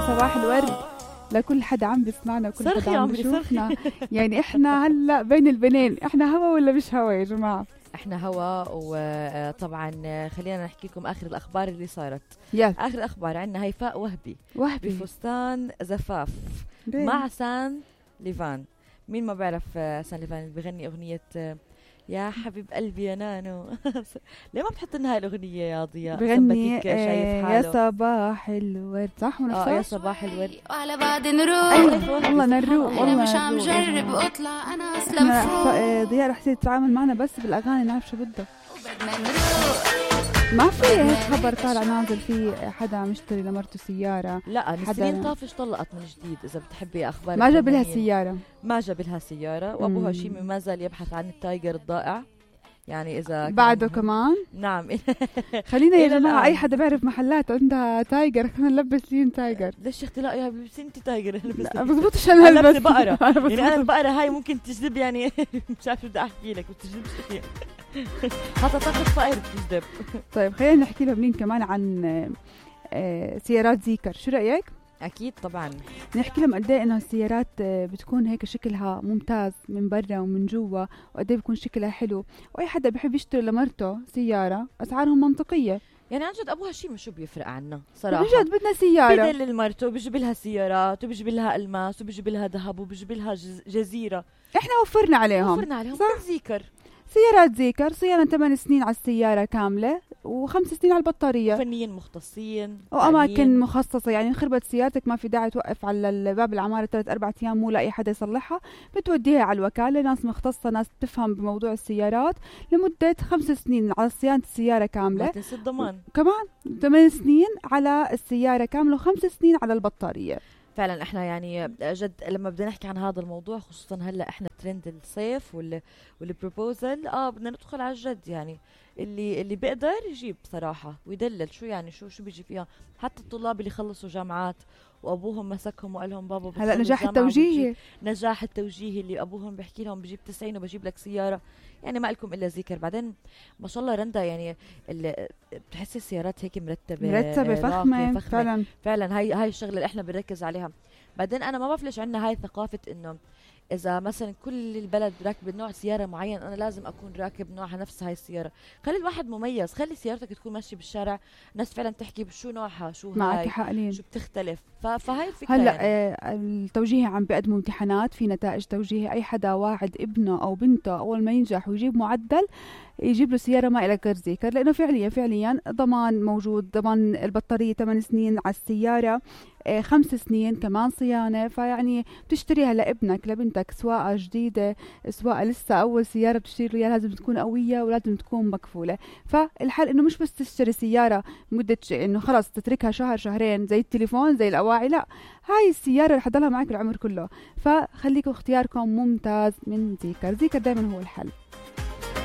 صباح الورد لكل حدا عم بيسمعنا وكل صرخي حدا عم عمري، بيشوفنا. يعني احنا هلا بين البنين، احنا هوا ولا مش هوا يا جماعة؟ احنا هوا. وطبعا خلينا نحكي لكم اخر الاخبار اللي صارت. يلا اخر الاخبار عندنا هيفاء وهبي وهبي بفستان زفاف مع سان ليفان. مين ما بيعرف سان ليفان اللي بيغني اغنية يا حبيب قلبي يا نانو. ليه ما بتحط لنا هاي الاغنية يا ضياء؟ بغني شايف يا حاله صباح الورد، صح ونفسه؟ يا صباح الورد. وعلى بعد نروح. أيوة والله نروق انا والله مش عم نروق. جرب اطلع انا اصلا فوق ضياء رح تصير تتعامل معنا بس بالاغاني، نعرف شو بدها. وبدنا نروح. ما في هيك خبر طالع نازل في حدا مشتري لمرته سيارة، لا حدا- نسرين طافش طلقت من جديد. اذا بتحبي اخبار ما جاب لها الفنانين. سيارة. ما جاب لها سيارة، وابوها شيمي ما زال يبحث عن التايجر الضائع. يعني اذا بعده كمان نعم. خلينا يا إلى جماعة الآن. أي حدا بيعرف محلات عندها تايجر خلينا نلبس لين تايجر. ليش اختلاق يا بلبسي انت تايجر؟ لا بزبطش أنا أنا هلبس لابسة بقرة. أنا يعني انا بزبطش. البقرة هاي ممكن تجذب، يعني مش عارفة بدي احكي لك، بتجذب شيء. حتى تاخذ فقر بتجذب. طيب خلينا نحكي لهم مين كمان عن سيارات زيكر، شو رأيك؟ اكيد طبعا. نحكي لهم قد ايه انه السيارات بتكون هيك شكلها ممتاز من برا ومن جوا، وقد ايه بيكون شكلها حلو، واي حدا بحب يشتري لمرته سيارة اسعارهم منطقية. يعني عن جد ابوها شيء شو بيفرق عنا صراحة. بجد بدنا سيارة. بدل المرته بيجيب لها سيارات، وبيجيب لها الماس، وبيجيب لها ذهب، وبيجيب لها جزيرة. احنا وفرنا عليهم. وفرنا عليهم صح. كل زيكر. سيارات زيكر صيانة 8 سنين على السيارة كاملة و5 سنين على البطارية، فنيين مختصين وأماكن فنيين. مخصصة. يعني خربت سيارتك ما في داعي توقف على باب العمارة 3-4 أيام مو لاقي حدا يصلحها، بتوديها على الوكالة، ناس مختصة ناس تفهم بموضوع السيارات لمدة 5 سنين على صيانة السيارة ما كاملة. تنسي الضمان. كمان 8 سنين على السيارة كاملة و5 سنين على البطارية. فعلا احنا يعني جد لما بدنا نحكي عن هذا الموضوع، خصوصا هلا احنا ترند الصيف والبروبوزل، بدنا ندخل على الجد. يعني اللي بيقدر يجيب صراحة ويدلل. شو يعني شو بيجي فيها؟ حتى الطلاب اللي خلصوا جامعات وابوهم مسكهم وقال لهم بابا هلا نجاح التوجيهي، نجاح التوجيهي اللي ابوهم بيحكي لهم بجيب 90 وبجيب لك سيارة. يعني ما لكم الا ذكر. بعدين ما شاء الله رندا، يعني بتحسي السيارات هيك مرتبة فخمة. فعلا هاي الشغله اللي احنا بنركز عليها. بعدين انا ما بعرف ليش عندنا هاي ثقافه انه اذا مثلا كل البلد راكب نوع سياره معين انا لازم اكون راكب نوعها نفس هاي السياره. خلي الواحد مميز، خلي سيارتك تكون ماشيه بالشارع الناس فعلا تحكي بشو نوعها، شو معك هاي، حق لين. شو بتختلف. فهاي الفكره. هلا يعني. التوجيهي عم بيقدموا امتحانات في نتائج توجيهي. اي حدا واعد ابنه او بنته اول ما ينجح ويجيب معدل يجيب له سياره ما إلها غير زيكر، لانه فعليا ضمان موجود، ضمان البطاريه 8 سنين على السياره، 5 سنين كمان صيانه. فيعني بتشتريها لابنك لبنتك، سواقه جديده سواقه لسه اول سياره بتشتري له، لازم تكون قويه ولازم تكون مكفوله. فالحل انه مش بس تشتري سياره مده انه خلص تتركها شهر شهرين زي التليفون زي الاواعي، لا، هاي السياره رح تضلها معك العمر كله. فخليكم اختياركم ممتاز من زيكر. زيكر دائما هو الحل.